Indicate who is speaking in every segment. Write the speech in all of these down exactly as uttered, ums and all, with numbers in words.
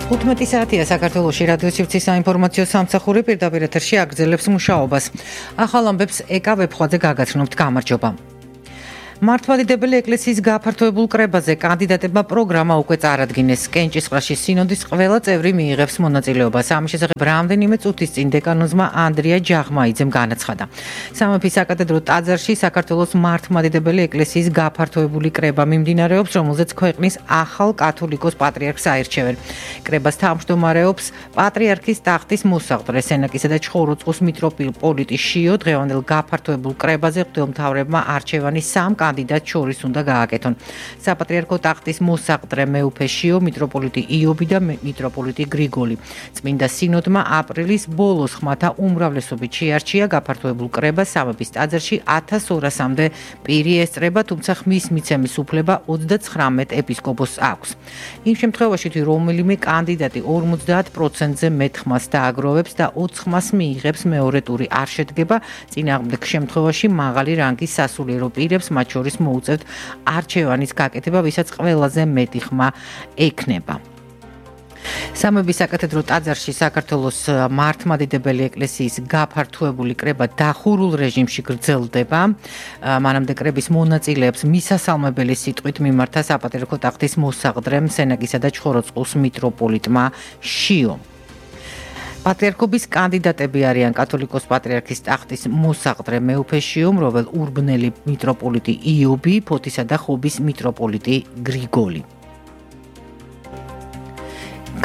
Speaker 1: თხუთმეტი საათია საქართველოში რადიო სივრცის საინფორმაციო სამსახური პირდაპირ ეთერში აგრძელებს მუშაობას. ახალ ამბებს ეკა ვებხვაძე გაგაცნობთ. გამარჯობა. მართლმადიდებელი ეკლესიის გაფართოებულ კრებაზე კანდიდატებმა პროგრამა უკვე წარადგინეს. კენჭისყრაში სინოდის ყველა წევრი მიიღებს მონაწილეობას. ამის შესახებ რამდენიმე წუთის წინ დეკანოზმა ანდრია ჯაღმაიძემ განაცხადა. სამეფის საკათედრო ტაძარში საქართველოს მართლმადიდებელი ეკლესიის გაფართოებული კრება მიმდინარეობს, რომელზეც ქვეყნის ახალ კათოლიკოს პატრიარქს აირჩევენ. კრებას თავმჯდომარეობს პატრიარქის ტახტის მოსაყდრე სენაკისა და ჩხოროწყუს მიტროპოლიტი შიო. დღევანდელ გაფართოებულ კრებაზე ღვთისმთავრებმა არჩევანი სამ კანდიდატ შორის უნდა გააკეთონ. საპატრიარქო ტახტის მოსაყდრე მეუფე შიო, მიტროპოლიტი იობი და მიტროპოლიტი გრიგოლი. წმინდა სინოდმა აპრილის ბოლოს ხმათა უმრავლესობით შეარჩია გაფართოებულ კრებას სამეფის ტაძარში ათას ორასამდე პირი ესწრება, თუმცა ხმის მიცემის უფლება ოცდაცხრამეტ ეპისკოპოსს აქვს. იმ შემთხვევაში თუ რომელიმე კანდიდატი ორმოცდაათ პროცენტზე მეტ ხმას დააგროვებს და ოც ხმას მიიღებს, მეორე ტური არ შედგება. წინააღმდეგ შემთხვევაში მაღალი რანგის სასულიერო პირებს მათ შორის მოუწევთ არჩევანის გაკეთება, ვისაც ყველაზე მეტი ხმა ექნება. სამეფის საკათედრო ტაძარში საქართველოს მართლმადიდებელი ეკლესიის გაფართოებული კრება დახურულ რეჟიმში გრძელდება. მანამდე კრების მონაწილეებს მისასალმებელი სიტყვით მიმართა საპატრიარქო ტახტის მოსაყდრემ სენაკისა და ჩხოროწყუს მიტროპოლიტმა შიო. პატრიარქობის კანდიდატები არიან კათოლიკოს პატრიარქის ტახტის მოსაყდრე მეუფე შიო, მროվել ურბნელი მიტროპოლიტი იობი, ფოთისა და ხობის მიტროპოლიტი გრიგოლი.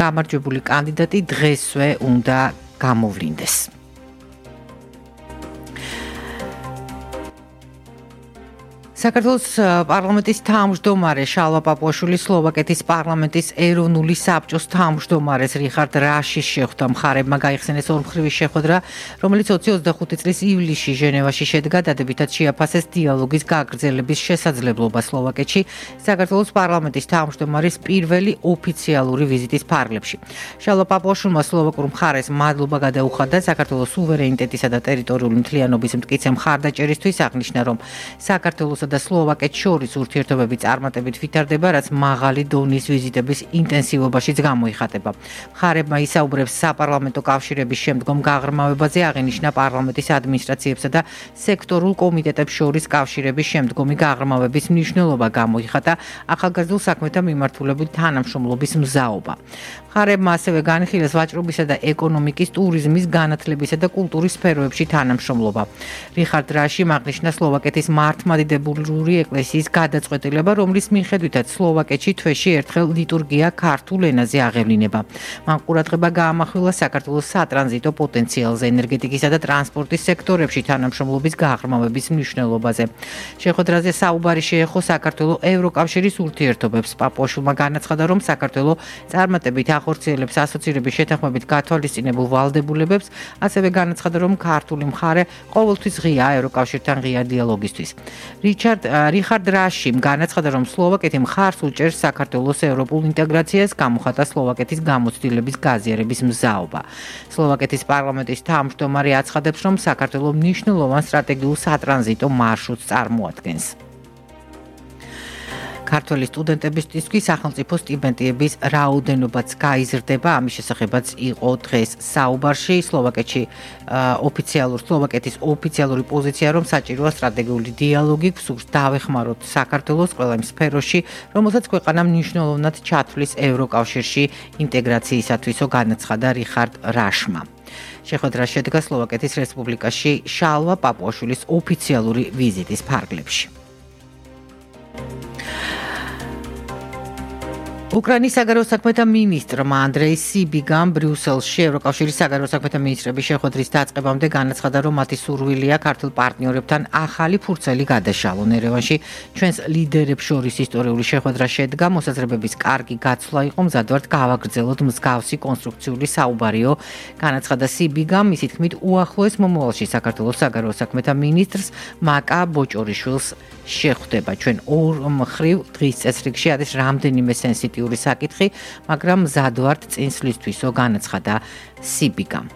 Speaker 1: გამარჯვებული კანდიდატი დღესვე უნდა გამოვლინდეს. საქართველოს პარლამენტის თავმჯდომარე შალვა პაპუაშვილი სლოვაკეთის პარლამენტის ეროვნული საბჭოს თავმჯდომარეს რიხარდ რაშის შეხვდა. მხარებმა გაიხსენეს ორმხრივი შეხვედრა, რომელიც ოცი ოცდახუთი წლის ივლისში ჟენევაში შედგა, დადებითად შეაფასეს დიალოგის გაგრძელების შესაძლებლობა სლოვაკეთში საქართველოს პარლამენტის თავმჯდომარის პირველი ოფიციალური ვიზიტის ფარგლებში. შალვა პაპუაშვილმა სლოვაკურ მხარეს მადლობა გადაუხადა საქართველოს სუვერენიტეტისა და ტერიტორიული მთლიანობის მტკიცე მხარდაჭერისთვის, აღნიშნა, რომ საქართველოს და სლოვაკეთს შორის ურთიერთობები წარმატებით ვითარდება, რაც მაღალი დონის ვიზიტების ინტენსივობაშიც გამოიხატება. მხარებმა ისაუბრებს საპარლამენტო კავშირების შემდგომ გაღრმავებაზე, აღინიშნა პარლამენტის ადმინისტრაციებსა და სექტორულ კომიტეტებს შორის კავშირების შემდგომი გაღრმავების მნიშვნელობა გამოიხატა, ახალგაზრდულ საქმეთა მიმართულებით თანამშრომლობის მზაობა. მხარებმა ასევე განიხილეს ვაჭრობისა და ეკონომიკის, ტურიზმის, განათლებისა და კულტურის სფეროებში თანამშრომლობა. რიხარდ რაშიმ აღნიშნა სლოვაკეთის მართლმადიდებელი ეკლესიის გადაწყვეტილება, რომლის მიხედვითაც სლოვაკეთში თვეში ერთხელ ლიტურგია ქართულ ენაზე აღევლინება. მან ყურადღება გაამახვილა საქართველოს სატრანზიტო პოტენციალზე, ენერგეტიკისა და ტრანსპორტის სექტორებში თანამშრომლობის გაღრმავების მნიშვნელობაზე. შეხვედრაზე საუბარი შეეხო საქართველოს ევროკავშირის ურთიერთობებს. პაპუაშვილმა განაცხადა, რომ საქართველოს წარმატებით ახორციელებს ასოცირების შეთანხმებით გათვალისწინებულ ვალდებულებებს, ასევე განაცხადა, რომ ქართული მხარე ყოველთვის ღია ევროკავშირთან ღია დიალოგისთვის. რიხარდ რაშიმ განაცხადა, რომ სლოვაკეთი მხარს უჭერს საქართველოს ევროპულ ინტეგრაციას, გამოხატა სლოვაკეთის გამოცდილების გაზიარების მზაობა. სლოვაკეთის პარლამენტის თავმჯდომარე აცხადებს, რომ საქართველოს მნიშვნელოვან სტრატეგიულ სატრანზიტო მარშრუტს წარმოადგენს. ქართველი სტუდენტებისთვის სახელმწიფო სტიპენდიების რაოდენობაც გაიზრდება. ამის შესახებაც იყო დღეს საუბარში. სლოვაკეთში ოფიციალურ სლოვაკეთის ოფიციალური პოზიცია, რომ საჭიროა სტრატეგიული დიალოგი, გსურს დავეხმაროთ საქართველოს ყველა იმ სფეროში, რომელსაც ქვეყანა მნიშვნელოვნად ჩათვლის ევროკავშირში ინტეგრაციისათვისო, განაცხადა რიხარდ რაშმა. შეხვედრა შედგა სლოვაკეთის რესპუბლიკაში შალვა პაპუაშვილის ოფიციალური ვიზიტის ფარგლებში. უკრაინის საგარეო საქმეთა მინისტრმა ანდრეი სიბიგამ ბრიუსელში ევროკავშირის საგარეო საქმეთა მინისტრების შეხვედრის დაწყებამდე განაცხადა, რომ მათი სურვილია ქართულ პარტნიორებთან ახალი ფურცელი გადაშალონ. ერევანში ჩვენს ლიდერებს შორის ისტორიული შეხვედრა შედგა, მოსაზრებების კარგი გაცვლა იყო, მზად ვართ გავაგრძელოთ მსგავსი კონსტრუქციული საუბარიო, განაცხადა სიბიგამ. მისი თქმით, უახლოეს მომავალში საქართველოს საგარეო საქმეთა მინისტრს მაკა ბოჭორიშვილს შეხვდება. ჩვენ ორ მხრივ დღის წესრიგში არის რამდენიმე სენსიტიური საკითხი, მაგრამ მზად ვართ წინსვლისთვისო, განაცხადა სიბიგამ.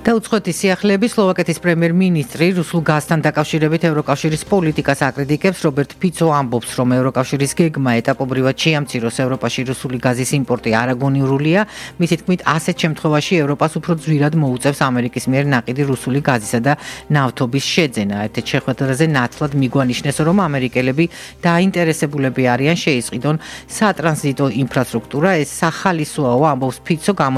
Speaker 1: დაუწყოთი სიახლეების სლოვაკეთის პრემიერ-მინისტრი რუსულ გაზთან დაკავშირებით ევროკავშირის პოლიტიკას აკრიტიკებს. რობერტ ფიცო ამბობს, რომ ევროკავშირის გეგმა ეტაპობრივად შეამციროს ევროპაში რუსული გაზის იმპორტი არაგონიურულია. მისი თქმით, ასეთ შემთხვევაში ევროპას უფრო ძვირად მოუწევს ამერიკის მიერ ნაყიდი რუსული გაზისა და ნავთობის შეძენა. ერთ-ერთ შეხვედრაზე ნათლად მიგვანიშნეს, რომ ამერიკელები დაინტერესებულები არიან შეისყიდონ სატრანზიტო ინფრასტრუქტურა. ეს სახალისოა, ამბობს ფიცო.